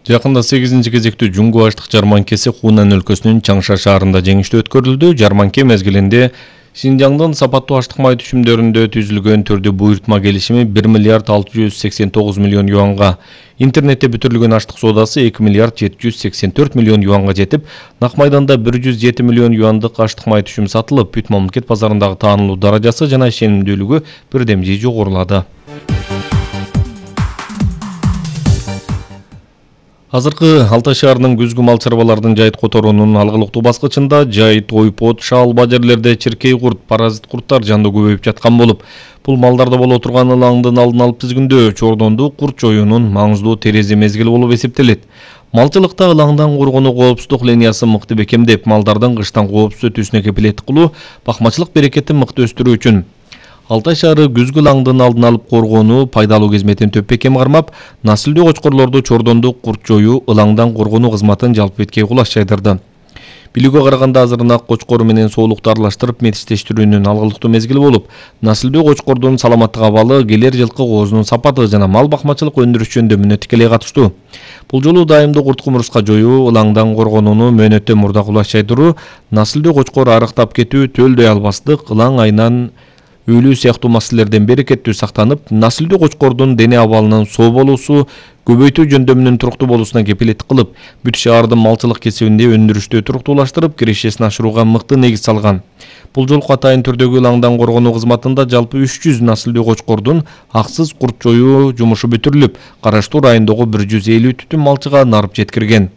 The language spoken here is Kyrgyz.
Жакында 8-кезектүү Жунгу аштык жарманкеси Хунан өлкөсүнүн Чаңша шаарында жеңиштүү өткөрүлдү. Жарманке мезгилинде Шинжаңдын сапаттуу аштык май түшүмдөрүндө түзүлгөн түрдүү буйртма келишими 1 миллиард 689 миллион юанга, интернетте бүтүрүлгөн аштык соодасы 2 миллиард 784 миллион юанга жетип, нак майданда 107 миллион юандык аштык май түшүмү сатылып, бүт мамлекет базарындагы таанылуу даражасы жана ишенимдүүлүгү бирдемжи жогорулады. Азыркы Алтай шаарынын күзгү мал чарбалардын жайыт которуунун алгылыктуу баскычында жайыт, ойпот, шаалба жерлерде чиркей курт, паразит курттар жанды көбөйүп жаткан болуп, бул малдарда боло турган ылаңдын алдын алып тизгиндөө чордонду курт жоюунун маңыздуу терези мезгили болуп эсептелет. Малчылыкта ылаңдан коргонуу коопсуздук линиясын мыкты бекемдеп, малдардын кыштан коопсуз өтүүсүнө кепилеттик кылуу бакмачылык берекетин мыкты өстүрүү үчүн Алтай шаары күзгү ылаңдын алдын алып коргонуу пайдалуу кызметин төп бекем кармап, насылдуу кочкорлорду чордонду курт жоюу, ылаңдан коргонуу кызматын жалпы беткей кулаш жайдырды. Билүүгө караганда азырынак кочкор менен соолукту аралаштырып метиштештирүүнүн алгылыктуу мезгили болуп, насылдуу кочкордун саламаттык абалы, келер жылкы коозунун сапаты жана мал бакмачылык өндүрүш жөндөмүнө тикелей катыштуу. Бул жолу дайымдуу курт кумурска жоюу, ылаңдан коргонууну мөөнөттөн мурда кулаш жайдыруу, насылдуу кочкор арыктап кетүү, төлдөй албастык, ылаң айынан өлүү сыяктуу маселелерден берекеттүү сактанып, насылдуу кочкордун дене абалынын соо болуусу, көбөйтүү жөндөмүнүн туруктуу болуусуна кепилеттик кылып, бүт шаардын малчылык кесибинде өндүрүштү туруктуулаштырып, кирешесин ашырууга мыкты негиз салган. Бул жолку атайын түрдөгү ылаңдан коргонуу кызматында жалпы 300 насылдуу кочкордун аксыз курт жоюу жумушу бүтүрүлүп, караштуу райондогу 150 түтүн малчыга нарып жеткирген.